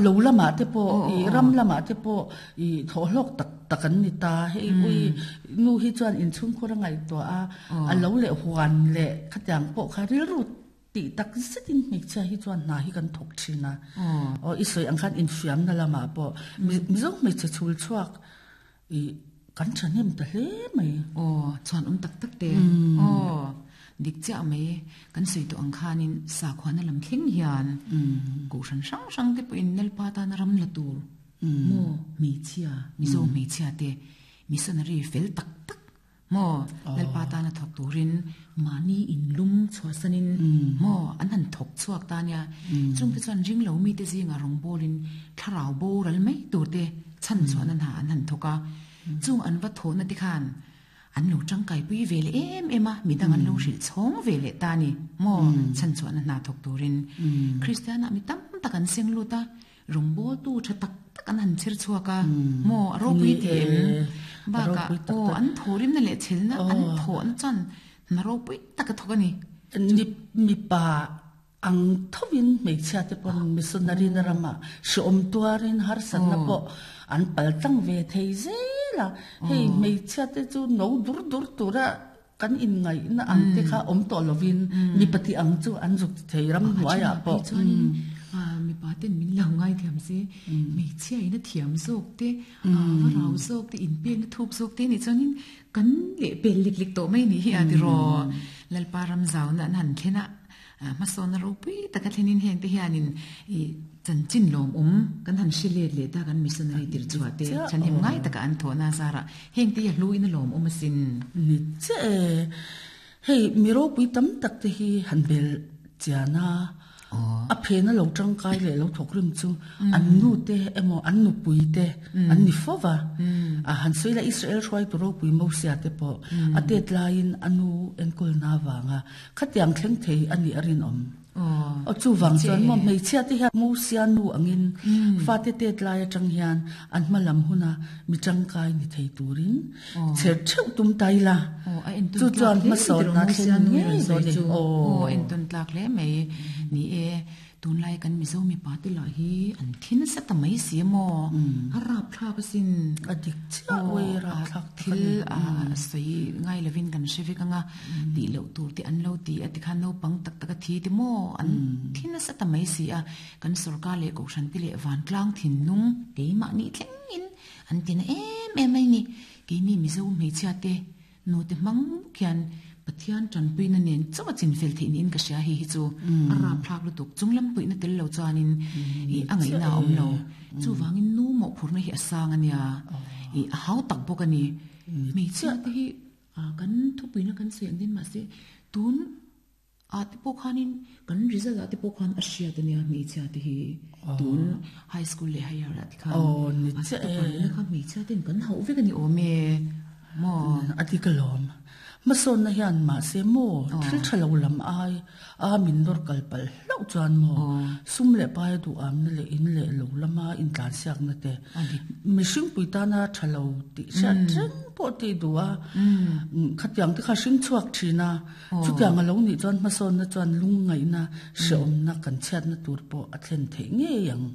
Lo lamah te pawh i ram lamah te pawh i thawhhlawk tak tak an ni ta. Hei ui nu hi chuan inchhungkhur a ngaihtuah a, a lo leh huan leh khatiang pawh kha rilru tih tak zetin hmeichhia hi chuan hna hi kan thawk thin a. Aw i sawi ang khan infiamna lamah pawh Mizo hmeichhe chhul chhuak I kan thahnem ta hle mai. Aw, chhuan awm tak tak te. Aw, dik chiah mai. Kan sawi tawh ang khanin sakhuana lam thleng hian kohhran hrang hrang te pawhin Lalpa tana ram la tur maw hmeichhia, Mizo hmeichhia te missionary fel tak tak maw Lalpa tana thawk turin mahni inlum chhuahsanin maw an han thawk chhuak ta nia. Chungte chuan ringlo mite zingah rawngbawlin thlarau boral mai tur te chhan chuan an ha an han thawk a. Chung an va thawhna te khan an lo tangkaipui ve leh em em a, midang an lo hrilh chhawng ve leh ta a ni maw chhan chuan a hna thawk turin. Kristianah mi tam tak an seng lut a, Rawngbawltu tha tak tak an han chher chhuak a, maw a ropui ti em? Bakah aw an thawhrimna leh chhelna an thawhna chuan hna ropui tak a thawk a ni. Mipa ang thovin hmeichhia te pawn missionary na ramah hreawm tuarin harsatna pawh an pal tlang ve thei zel a. Hei hmeichhia te chu no dur dur tura Kan inngaihna ang te kha awm tawh lovin mipa tih ang chu an zuk thei ram hnuaiah pawh. Chuanin mipa ten min lo ngaithiam se, hmeichhia in a thiam zawk te, va rau zawk te, inpekna thuk zawk te nih chuanin kan lehpel lek lek tawh mai nih hi a tiraw. Lalpa ram zauna an han thlen a. Hmasawnna ropui taka thlenin hengte hianin i chanchin lawmawm kan han hre let leh ta kan missionary tir chhuah te chhanhim ngai taka an thawhna zarah hengte hi a hluin a lawmawm asin. Ni chiah e. Hei mi ropui tam tak te hi han bel chian a, a phena lo tangkai leh lo thawk rim chu an nu te emaw an nupui te an ni fo va. A han sawi la Israel hruaitu ropui Mosia te pawh a tet laiin a nu enkawlna avanga Khatiang thleng thei a nih a rinawm. Aw chuvang chuan maw hmeichhia te hian Mosia nu angin fate tet lai atang hian an hma lam huna mi tangkai ni thei turin chher theuh tum ta ila. Chu chuan hmasawnna thlen ngei dawn a ni. Aw entawn tlak hle mai ni e. Tunlai kan Mizo mipa te lah hi an thi nasa ta mai si maw? A rapthlak asin. A dik chiah ui rapthlak tak a ni. Thil a sawi ngai lovin kan hre vek anga tih loh tur te an lo ti a tikhan naupang tak tak a thi te maw an thi nasa ta mai si a. Kan sorkar leh kohhran te leh vantlang thinlung keimahni thlengin an ti na em em mai ni. Keini Mizo hmeichhia te Nute hmang bawk hian Pathian tanpuina nen chauh a chinfel theih niin ka hria hei hi chu a rapthlak lutuk. Chunglam puihna tel lo chuanin ih a ngaihna a awm lo. Chuvangin nu mawhphurhna hi a sang a nia, ih a hau tak bawk a ni. Hmeichhia te hi kan thupuina kan sawi ang din mahse tun Ah te pawh khanin kan result ah te pawh khan a hriat ania hmeichhia te hi tun high school leh higher ah te khan a topper nihna kha hmeichhia ten kan hauh vek a ni awm e maw. A dik alawm. Hmasawnna hian mahse maw thil tha lo lam ai a min nawr kal palh hlauh chuan maw sum leh pai a duhamna leh in leh lo lama intlansiakna te mihring pui tana tha lo tih hriat reng pawh tih duh a khatiang te kha hring chhuak thin a. Chutiang a lo nih chuan hmasawnna chuan lungngaihna, hrehawmna kan chhiatna tur pawh a thlen theih ngei ang.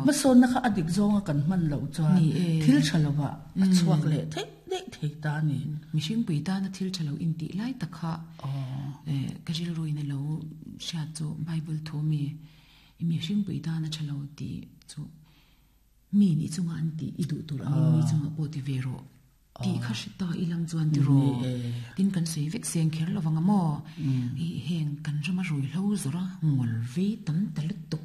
Hmasawnna kha a dik zawnga kan hman loh chuan thil tha lovah a chhuak leh theih daih thei ta a ni. Mihringpui tana thil tha lo intih lai tak kha ka rilruin a lo hriat chu Bible thu mi mihringpui tana tha lo tih chu mi nih chunga an tih i duh tur angin mi chungah pawh ti ve rawh. Tih kha hre ta i lang chuan ti rawh. Tin kan sawi vek seng kher lo vang a maw? I heng kan rama ruihhlo zawrh a ngawl vei tam ta lutuk.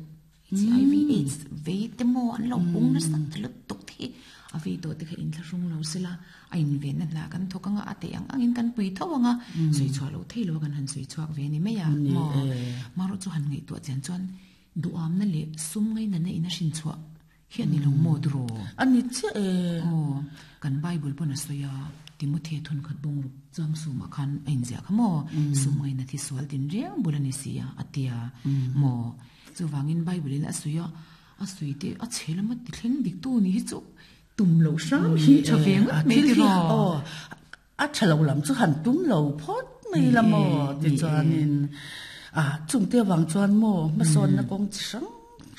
HIV AIDS vei te maw an lo pung nasa ta lutuk te hi a vei tawh te kha inthlahrung lo sela a invenna hna kan thawk anga a theih ang angin kan pui tho anga sawi chhuah loh thei lo a kan han sawi chhuak ve ni mai a maw? Marawh chu han ngaihtuah chian chuan duhamna leh sum ngainatna in a hrinchhuah Hi a ni lo maw duraw? A ni chiah e. Aw, kan Bible pawn a sawi a, Timothy thun khat bawng ruk chuang sumah khan a inziah kha maw? Sum ngaina thi sual tin reng bul a ni si a, a ti a maw? Chuvangin Bible in a sawi a, a sawi te a chhe lama ti thleng dik tu ni hi chu tum loh hram hi tha ve ngawt mai tiraw? Aw, a tha lo lam chu han tum lo phawt mai la maw? Tichuanin, a chungte avang chuan maw hmasawnna kawng chi hrang.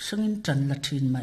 hrangin tan la thin ma.